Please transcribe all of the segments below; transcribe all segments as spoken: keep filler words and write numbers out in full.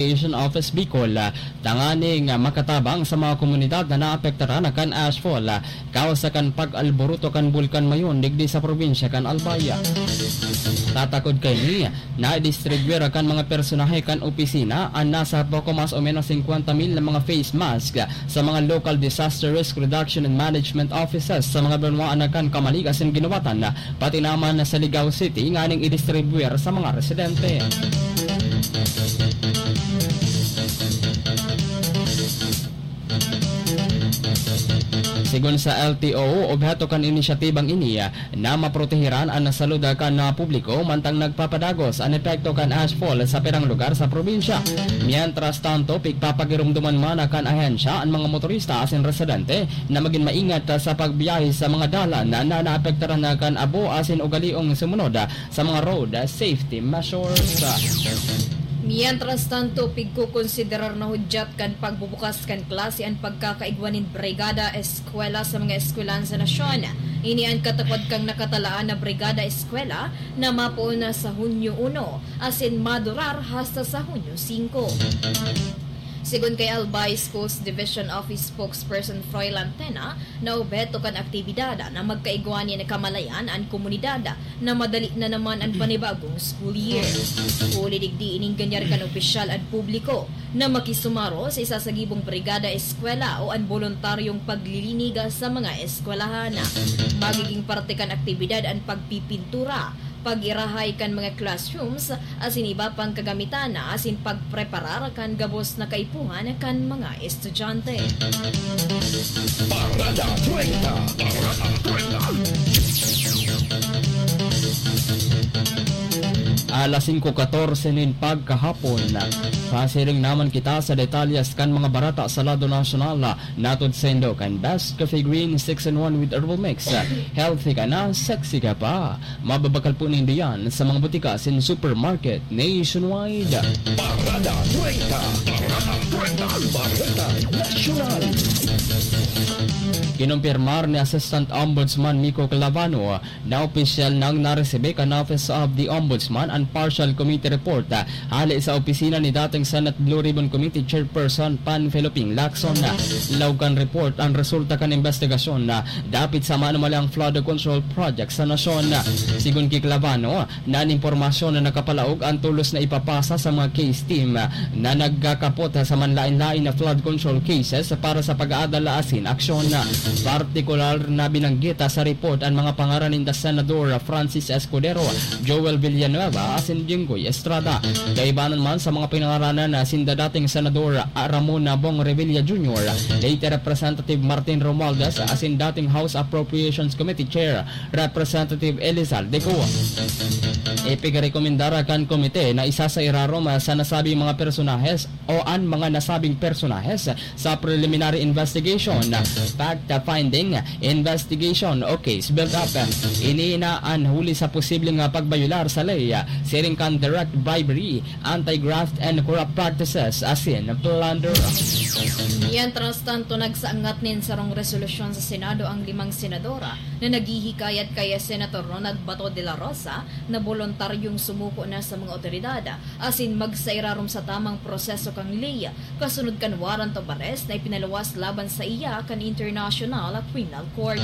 Education Office Bicol, ah, tanganing, ah, makatabang sa mga komunidad na naapektaran kan ashfall, ah, kawsa kan pag-alboroto kan Bulkan Mayon digdi sa probinsya kan Albay. Tatakod kaini, nadistribuyar kan mga personahe kan opisina an nasa poko mas o menos singkwenta mil na mga face mask sa mga local disaster risk reduction and management offices sa mga banwaan na kan Camalig asin Guinobatan, pati naman sa Ligao City, nganing idistribuyar sa mga residente. Sigon sa L T O, obheto kan inisyatibang ini na maprotehiran an salud kan, ah, publiko mantang nagpapadagos an epekto kan ashfall sa pirang lugar sa probinsya. Mientras tanto, pigpapagiromdoman man kan ahensya an mga motorista asin residente na magin maingat sa pagbiyahe sa mga dalan na naapektaran kan abo asin ugaliong sumunod sa mga road safety measures. Mientras tanto, pigkokonsiderar na hudyat kan pagbubukas kan klase an pagkakaigwa nin Brigada Eskwela sa mga eskwelahan sa nasyon. Ini an katapad kan nakatalaan na Brigada Eskwela na mapoon na sa Hunyo uno asin madurar hasta sa Hunyo singko. Sigon kay Albay Schools Division Office Spokesperson Froy Lantena, na obheto kan aktibidad na magkaigwa nin kamalayan an komunidad na madali na naman an panibagong school year. Huli digdi, inengganyar kan opisyal an publiko na makisumaro sa isasagibong brigada eskwela o an boluntaryong paglilinig sa mga eskwelahan. Magiging parte kan aktibidad an pagpipintura, pag-irahay kan mga classrooms, asin iba pang kagamitan asin pagpreparar kan gabos na kaipuhan kan mga estudyante. Parada treinta. Parada treinta. Alas singko katorse nin pagkahapon, pasiring naman kita sa detalyes kan mga barata sa lado nasyonal. Natod saindo kan Best Coffee Green six-in-one with Herbal Mix. Healthy ka na, sexy ka pa. Mababakal po nindo yan sa mga butika asin supermarket nationwide. Parada treinta. Parada treinta. Bareta Nasyonal. Kinumpirmar ni Assistant Ombudsman Miko Clavano na opisyal nang naresibi kan Office of the Ombudsman an partial committee report, ah, hale sa opisina ni dating Senate Blue Ribbon Committee Chairperson Panfilo Ping Lacson. Laog kan report, an resulta kan imbestigasyon na dapit sa manumalyang flood control project sa nasyon. Sigon ki Clavano, na an impormasyon na nakapalaog an tolos na ipapasa sa mga case team na nagkakapot sa manlaen-laen na flood control cases para sa pag-aadal asin aksyon. Partikular na binanggit sa report an mga pangaran ninda Senador Francis Escudero, Joel Villanueva asin Jinggoy Estrada. Kaibanan man sa mga pinangaranan na sinda dating Senador Ramon Bong Revilla Junior, dating Representative Martin Romualdez asin dating House Appropriations Committee Chair Representative Elizalde Co. Ipigrekomendar kan komite na isa sa irarom sa nasabing mga personahes o an mga nasabing personahes sa preliminary investigation, fact-finding investigation o case build-up. Ini na an huli sa posibleng pagbayolar sa ley, siring kan direct bribery, anti-graft and corrupt practices, asin plunder. Mientras tanto, nagsaangat nin sarong resolusyon sa Senado ang limang senadora na naghihikayat kay Senator Ronald Bato de la Rosa na boluntaryong sumuko na sa mga otoridad asin magsairarom sa tamang proseso kan ley kasunod kan warrant of arrest na ipinaluwas laban saiya kan International Criminal Court.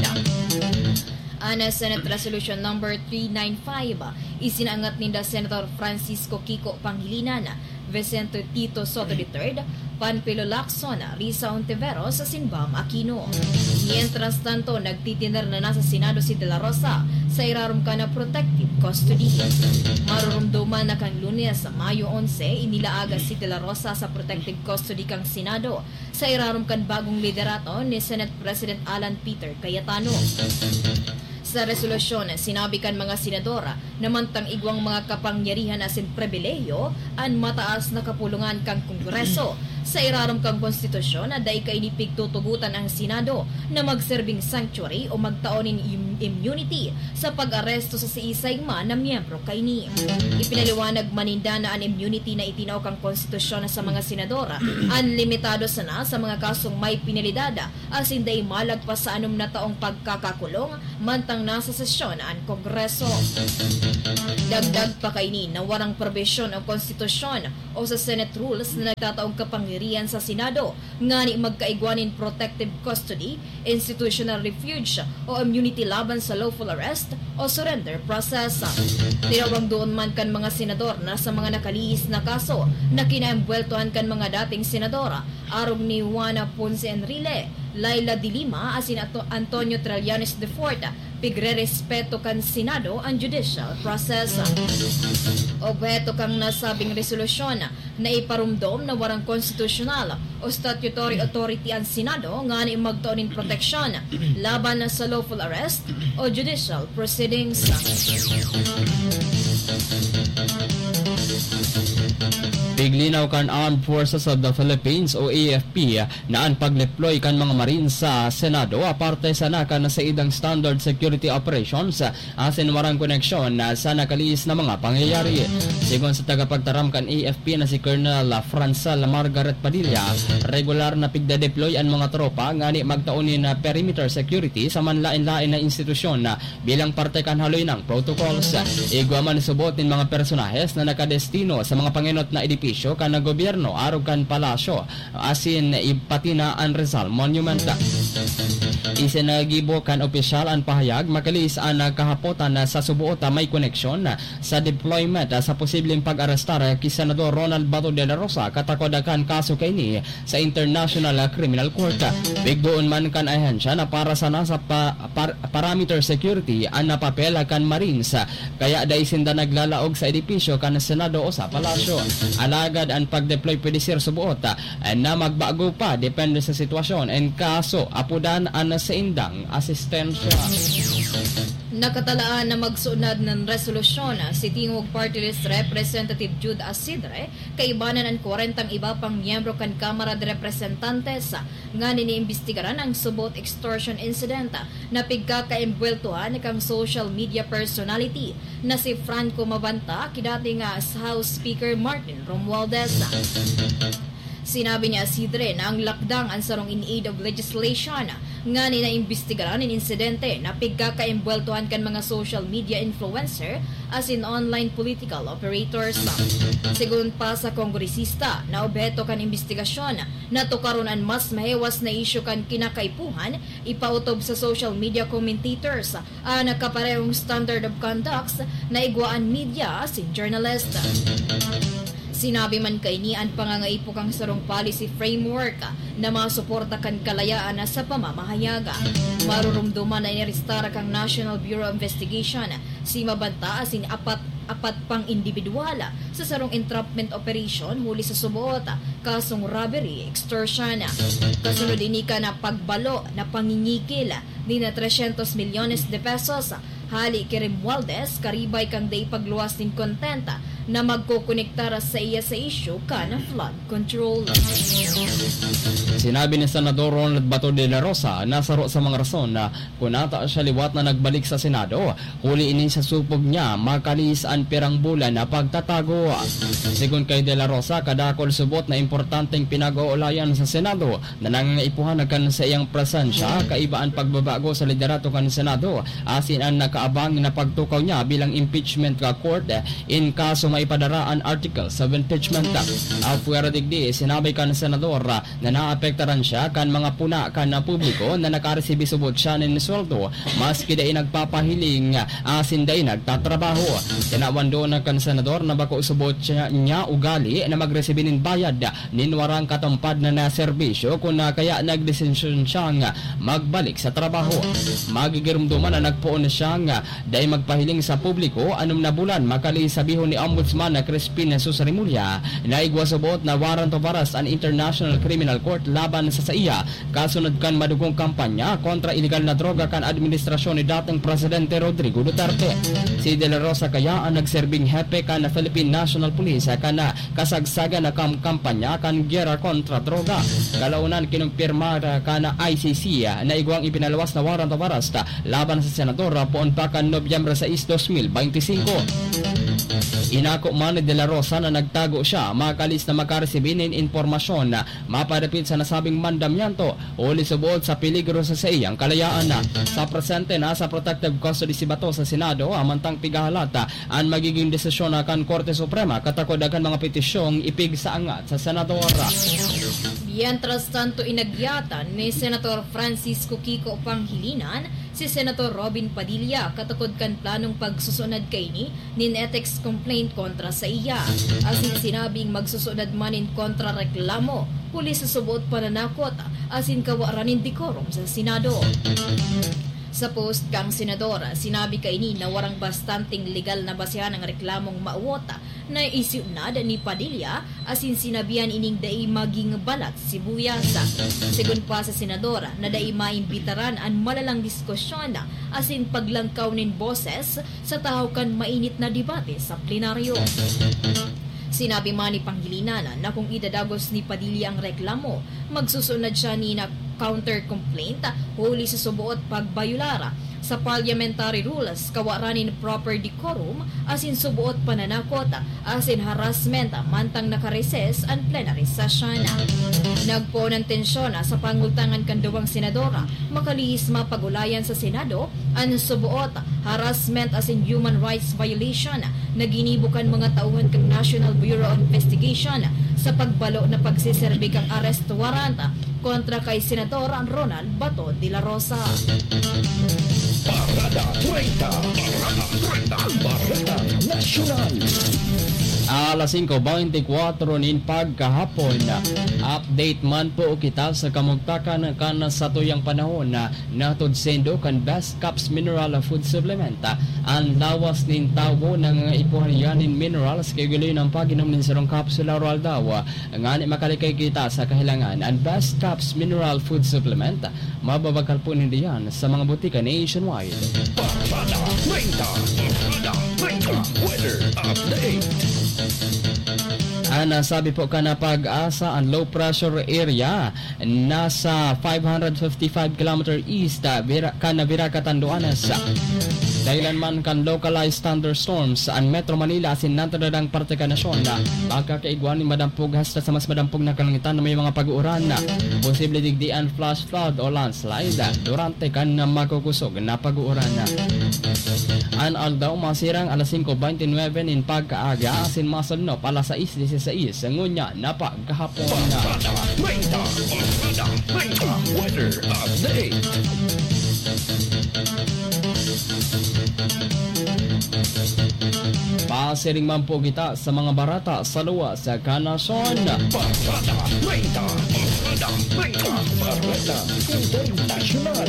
An Senate Resolution Number three nine five, isinaangat ninda Senator Francisco Kiko Pangilinan, Vicente Tito Soto the third, Panfilo Lacson, Risa Ontiveros asin Bam Aquino. Mientras tanto, nagtitiner na nasa Senado si De La Rosa sa irarom kan protective custody. Maroromdoman na kan Lunes, Mayo onse, inilaag si De La Rosa sa protective custody kan Senado sa irarom kan bagong liderato ni Senate President Alan Peter Cayetano. Sa resolusyon, sinabi kan mga senador na mantang igwang mga kapangyarihan asin pribilehiyo an mataas na kapulungan kan Kongreso, sa irarom kan Konstitusyon na dai kaini pigtutugotan ang Senado na magserbing sanctuary o magtao nin im-, immunity sa pag-aresto sa siisay man na miyembro kaini. Ipinaliwanag man ninda na an immunity na itinao kan Konstitusyon sa mga senador an limitado sana sa mga kasong may penalidad asin dai malagpas sa anom na taong pagkakakulong mantang nasa sesyon an Kongreso. Dagdag pa kaini na warang probisyon o konstitusyon o sa Senate rules na nagtataong kapangyarihan sa Senado ngani magkaigwa nin protective custody, institutional refuge o immunity laban sa lawful arrest o surrender process. Tinawag doon man kan mga senador na sa mga nakalihis na kaso na kinaembweltohan kan mga dating senador, arog ni Juana Ponce Enrile, Laila de Lima asin Ato-, Antonio Trillanes de Fort, pigrerespeto kan Senado an judicial process. Obheto kan nasabing resolusyon na iparumdom na warang konstitusyonal o statutory authority an Senado ngani magtao nin proteksyon laban sa lawful arrest o judicial proceedings. Piglinaw kan Armed Forces of the Philippines o A F P na an pagdeploy kan mga Marines sa Senado aparte sana kan saidang standard security operations asin warang koneksyon sa nakalihis na mga pangyayari. Sigon sa tagapagtaram kan A F P na si Colonel Francel Margaret Padilla, regular na pigdadeploy an mga tropa ngani magtao nin perimeter security sa manlaen-laen na institusyon bilang parte kan haloy nang protocols. Igwa man subot nin mga personahes na nakadestino sa mga pangenot na edipisyo kan gobyerno arog kan palasyo asin i-, pati na an Rizal Monument. Isinagibo kan opisyal an pahayag, makalihis an kahapotan na sa suboot a may koneksyon sa deployment sa posibleng pag-arestar ki Senador Ronald Bato de la Rosa katakod kan kaso kaini sa International Criminal Court. Pigdoon man kan ahensya na para sana sa pa-, par-, parameter security an napapel kan Marines, kaya dai sinda naglalaog sa edipisyo kan Senado o sa Palasyo. Alagad an pagdeploy pwede ser suboot na magbago pa depende sa sitwasyon and kaso apudan an saindang asistensya. Nakatalaan na magsunod ng resolusyon si Tingog Party List Representative Jude Asidre, kaibanan an kwarentang iba pang miyembro kan Kamara de Representantes, ngani iniimbestigaran ang subot extortion incident na pigkakaembweltuhan kan social media personality na si Franco Mabanta ki dating, ah, House Speaker Martin Romualdez. Sinabi ni Asidre na ang lakdang an sarong in aid of legislation ngani naimbestigaran nin insidente na pigkakaembweltohan kan mga social media influencer asin online political operators. Sigon pa sa kongresista na obheto kan imbestigasyon na tukaron an mas mahewas na isyu kan kinakaipuhan ipaotob sa social media commentators an kaparehong standard of conducts na igwa an media asin journalist. Sinabi man kaini an pangangaipo kan sarong policy framework na masuporta kan kalayaan sa pamamahayag. Marurumduman na inarestar kan National Bureau of Investigation si Mabanta asin apat, apat pang indibidwal sa sarong entrapment operation huli sa subot kasong robbery, extortion. Kasunod ini kan pagbalo na pangingikil ni na trescientos milyones de pesos hali ki Romualdez, karibay kan dai pagluwas nin content na magkokonektar saiya sa isyu kan flood control. Sinabi ni Senador Ronald Bato de la Rosa na saro sa mga rason na kun ata siya liwat na nagbalik sa Senado, huli ini sa supog niya makalihis an pirang bulan na pagtatago. Sigon kay De La Rosa, kadakul subot na importanteng pinag-oolayan sa Senado na nangangaipuhan kan saiyang presensya, kaiba an pagbabago sa liderato kan Senado, asin an nakaabang na pagtukaw niya bilang impeachment ka court in kaso maipadara an articles of impeachment. Apwera digdi, sinabi kan Senador na naapektaran siya kan mga puna kan publiko na nakaresibi subot siya nin sweldo, maski dai nagpapahiling asin dai nagtatrabaho. Tinawan duon kan Senador na bako subot siya, niya ugali na magresibi nin bayad nin warang katumpad na, na serbisyo, kun na kaya nagdesisyon siyang magbalik sa trabaho. Magigirumduman na nagpoon siyang dai magpahiling sa publiko anom na bulan makali sabihon ni Ombudsman na Crispin Jesus Remulla na igwa subot na warrant of arrest an International Criminal Court laban sa saiya kasunod kan madugong kampanya kontra ilegal na droga kan administrasyon ni dating Presidente Rodrigo Duterte. Si De La Rosa kaya ang nagserbing hepe kan Philippine National Police kan kasagsagan na kam-, kampanya kan giyera kontra droga. Kalaunan, kinumpirma kan I C C na igwang ipinaluwas na warrant of arrest laban sa senador poon pa kan Nobyembre sais, dos mil beintisinko. Hinako man ni De La Rosa na nagtago siya, makalis na makaresibi nin impormasyon na mapadapit sa nasabing mandamiento, huli subot sa peligro sa saiyang kalayaan. Sa presente, nasa protective custody si Bato sa Senado, amantang pigahalat an magiging desisyon na kan Korte Suprema katakod kan mga petisyong ipigsaangat sa senador. Mientras tanto, inagyatan ni Senator Francisco Kiko Pangilinan si Senator Robin Padilla katakod kan planong pagsusunod kaini nin ethics complaint kontra sa iya. Asin sinabing magsusunod man nin kontrareklamo huli sa suboot pananakot asin kawaran nin decorum sa Senado. Sa post kan senador, sinabi kaini na warang bastanteng legal na basehan ang reklamong mawot na isunod ni Padilla, asin sinabihan ining dai magin balat sibuyas. Sigon pa sa senador na dai maimbitaran an malalang diskusyon asin paglangkaw nin boses sa tahaw kan mainit na debate sa plenaryo. Sinabi man ni Pangilinan na kung idadagos ni Padilla ang reklamo, magsusunod siya nin counter complaint huli sa suboot pagbayolar sa parliamentary rules, kawaran nin proper decorum, asin suboot pananakot asin harassment mantang naka-recess an plenary session. Nagpoon an tensyon sa pangultangan kan duwang senador, makalihis mapag-ulayan sa Senado an suboot harassment asin human rights violation na ginibo kan mga tauhan kan National Bureau of Investigation sa pagbalo na pagseserbi kan arrest warrant kontra kay Senador Ronald Bato de la Rosa. Parada treinta. Parada treinta. Parada Nasyonal. Alas singko beintikwatro nin pagkahapon, update man po kita sa kamugtakan kan satuyang panahon. Nahatod saindo kan Best Caps Mineral Food Supplement. An lawas nin tawo nangangaipo niya nin minerals, kaya iguli ang pag-inom nin sarong kapsula aroaldaw, ngani makalikay kita sa kahilangan. An Best Caps Mineral Food Supplement, mababakal po nindo yan sa mga butika nationwide. Parada treinta. Parada treinta. Weather update. An nasabi po kan PAGASA, an low pressure area nasa five hundred fifty-five kilometer east, ah, Vira-, kan Virac, Catanduanes. Dahilan man kan localized thunderstorms, an Metro Manila asin nagtatadang parte kan nasyon na makakaigwa nin madampog hasta sa mas madampog na kalangitan na may mga pag-uuran. Posible digdi an flash flood o landslide durante kan makukusog na pag-uuran. An aldaw masirang alas singko beintinuebe nin pagkaaga asin masalnop alas sais disisais ngunyan na pagkahapon. Parada treinta, Parada treinta, weather update. Pasiring man po kita sa mga bareta sa luwas kan nasyon. Parada treinta, Parada treinta, Parada Internasyonal.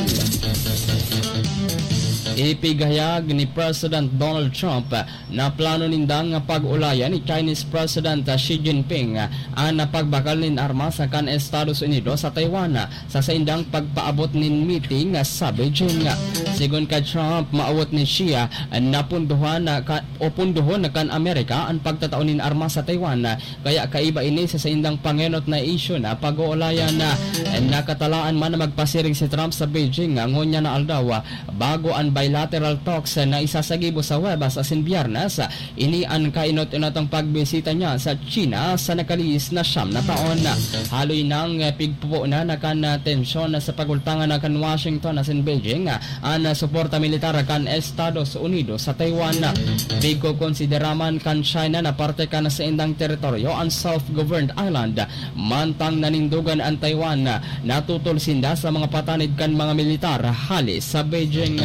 Ipighayag ni President Donald Trump na plano nindang pag-ulayan ni Chinese President Xi Jinping an pagbakal nin armas kan Estados Unidos sa Taiwan sa saindang pagpaabot nin meeting sa Beijing. Sigon kay Trump, maawot ni Xi na punduhan ka, o punduhon kan Amerika an pagtatao nin armas sa Taiwan, kaya kaiba ini sa saindang pangenot na isyu na pag-oolayan. Nakatalaan man na magpasiring si Trump sa Beijing ngunyan na aldaw, bago an bilateral talks na isasagibo sa Huwebes asin Biyernes. Ini an kainot-inotang pagbisita niya sa China sa nakalihis na siyam na taon. Haloy nang pigpupunan na kan tensyon sa pagultangan na kan Washington asin Beijing an suporta militar kan Estados Unidos sa Taiwan. Pigkokonsidera man kan China na parte kan saindang teritoryo an self-governed island. Mantang nanindogan an Taiwan, natutol sinda sa mga patanid kan mga militar hale sa Beijing.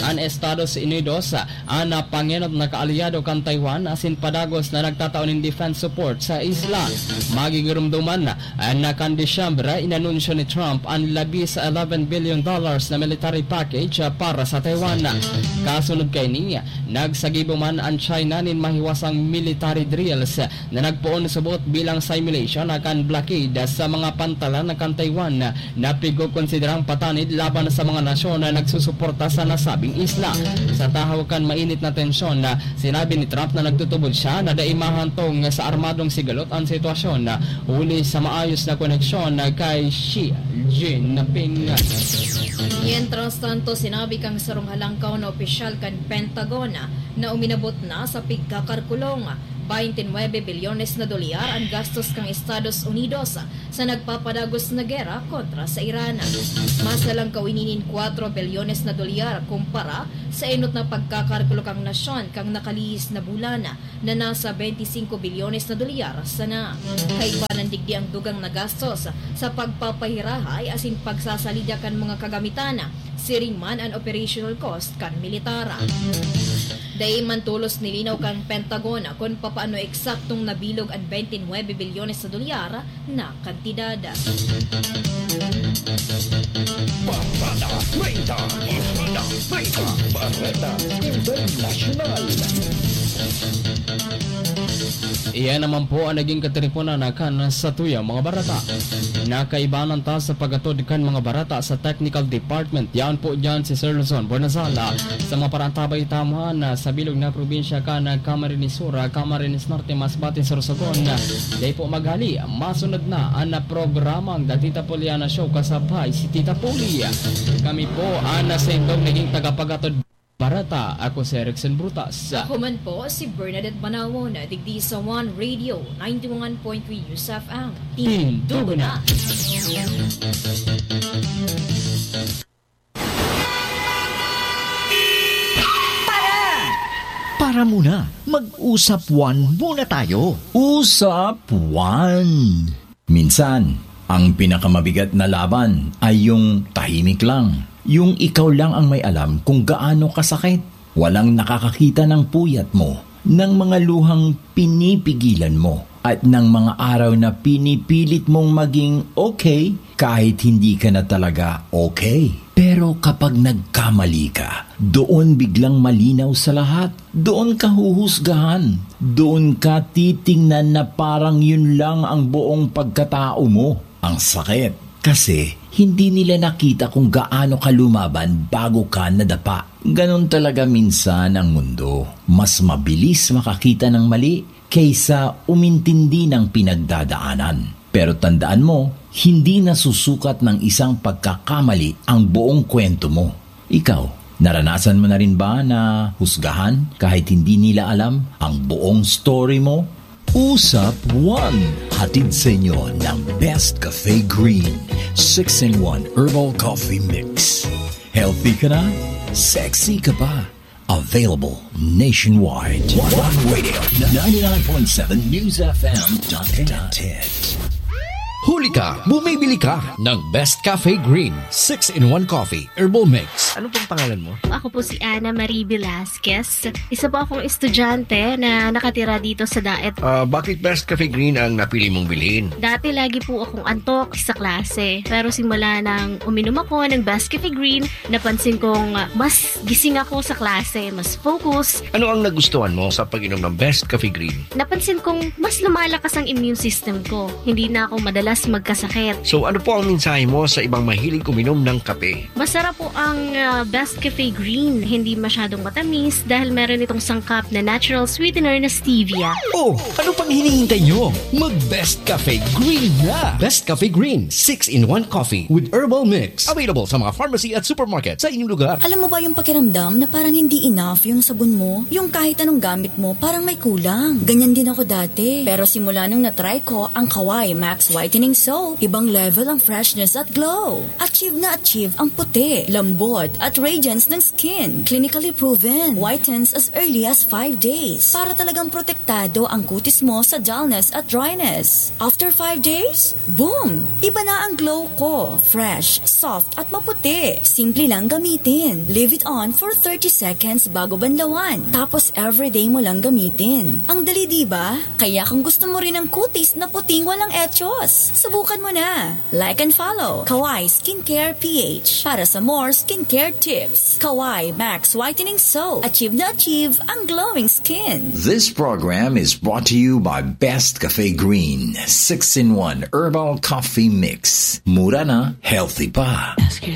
An Estados Unidos, an pangenot na kaalyado kan Taiwan, asin padagos na nagtatao nin defense support sa isla. Magigiromdoman na kan Disyembre, inanunsyo ni Trump an labi sa eleven billion dollars na military package para sa Taiwan. Kasunod kaini, nagsagibo man an China nin mahiwasang military drills na nagpoon subot bilang simulation na kan blockade sa mga pantalan kan Taiwan na pigkokonsiderang patanid laban sa mga nasyon na nagsusuporta sa nasa sabing isla. Sa tahaw kan mainit na tensyon, sinabi ni Trump na nagtutubod siya na dai mahantong sa armadong sigalot an sitwasyon, huli sa maayos na koneksyon kay Xi Jinping. Mientras tanto, sinabi kan sarong halangkaw na opisyal kan Pentagon na uminabot na sa pigkakarkulong twenty-nine bilyones na dolyar an gastos kan Estados Unidos sa nagpapadagos na gera kontra sa Iran. Mas halangkaw ini nin kwatro bilyones na dolyar kumpara sa enot na pagkakarkulo kan nasyon kan nakalihis na bulan na nasa twenty-five bilyones na dolyar sana. Kaiba nan digdi ang dugang na gastos sa pagpapahirahay asin pagsasalida kan mga kagamitan, siring man an operational cost kan militar. Dai man tolos nilinaw kan Pentagon kun papaano eksaktong nabilog an twenty-nine bilyones na dolyar na kantidad. Barada treinta, Barada treinta, Barada Internasyonal. Iyan naman po ang naging katiriponan na kan sa tuyang mga barata. Nakaibanan ta sa pag-atod kan mga barata sa technical department. Yan po dyan si Sir Luzon Bonazala. Sa mga parantabay tamuhan na sa bilog na probinsya kan Camarines Sur, Camarines Norte, Masbate, Sorsogon. Dai po maghali, masunod na ang programang The Tita Poliana Show kasabay si Tita Poli. Kami po ang nasendong naging tagapagatod barata. Ako si Erickson Brutas. Ako man po si Bernadette Banawon, digdi sa One Radio, ninety-one point three News F M. Tindugo na! Para muna, mag-usapwan muna tayo. Usapwan. Minsan, ang pinakamabigat na laban ay yung tahimik lang. Yung ikaw lang ang may alam kung gaano kasakit. Walang nakakakita ng puyat mo, ng mga luhang pinipigilan mo, at ng mga araw na pinipilit mong maging okay kahit hindi ka na talaga okay. Pero kapag nagkamali ka, doon biglang malinaw sa lahat. Doon ka huhusgahan. Doon ka titingnan na parang yun lang ang buong pagkatao mo. Ang sakit. Kasi hindi nila nakita kung gaano ka lumaban bago ka nadapa. Ganon talaga minsan ang mundo. Mas mabilis makakita ng mali kaysa umintindi ng pinagdadaanan. Pero tandaan mo, hindi nasusukat ng isang pagkakamali ang buong kwento mo. Ikaw, naranasan mo na rin ba na husgahan kahit hindi nila alam ang buong story mo? Usap One, hatid sa inyo ng Best Cafe Green six-in-one Herbal Coffee Mix. Healthy ka na, sexy ka pa. Available nationwide. One Radio, ninety-nine point seven News F M. Huli ka, bumibili ka ng Best Cafe Green six-in-one Coffee Herbal Mix. Ano pong pangalan mo? Ako po si Ana Marie Velasquez. Isa po akong estudyante na nakatira dito sa Daet. Ah, bakit Best Cafe Green ang napili mong bilhin? Dati lagi po akong antok sa klase. Pero simula nang uminom ako ng Best Cafe Green, napansin kong ah, mas gising ako sa klase, mas focus. Ano ang nagustuhan mo sa pag-inom ng Best Cafe Green? Napansin kong mas lumalakas ang immune system ko. Hindi na ako madalas magkasakit. So ano po ang mensahe mo sa ibang mahilig uminom ng kape? Masarap po ang ah, Best Cafe Green. Hindi masyadong matamis dahil meron itong sangkap na natural sweetener na stevia. Oh, ano pang hinihintay nyo? Mag Best Cafe Green na! Best Cafe Green six-in-one Coffee with Herbal Mix. Available sa mga pharmacy at supermarket sa inyong lugar. Alam mo ba yung pakiramdam na parang hindi enough yung sabon mo? Yung kahit anong gamit mo, parang may kulang. Ganyan din ako dati. Pero simula nung na-try ko ang Kawai Max Whitening Soap, ibang level ang freshness at glow. Achieve na achieve ang puti, lambot, at radiance ng skin. Clinically proven. Whitens as early as five days. Para talagang protektado ang kutis mo sa dullness at dryness. After five days, boom! Iba na ang glow ko. Fresh, soft, at maputi. Simple lang gamitin. Leave it on for thirty seconds bago banlawan. Tapos everyday mo lang gamitin. Ang dali, di ba? Kaya kung gusto mo rin ang kutis na puting walang echos, subukan mo na. Like and follow Kawai Skincare P H para sa more skincare tips. Kawai Max Whitening Soap. Achieve na achieve ang glowing skin. This program is brought to you by Best Cafe Green six-in-one Herbal Coffee Mix. Mura na, healthy pa.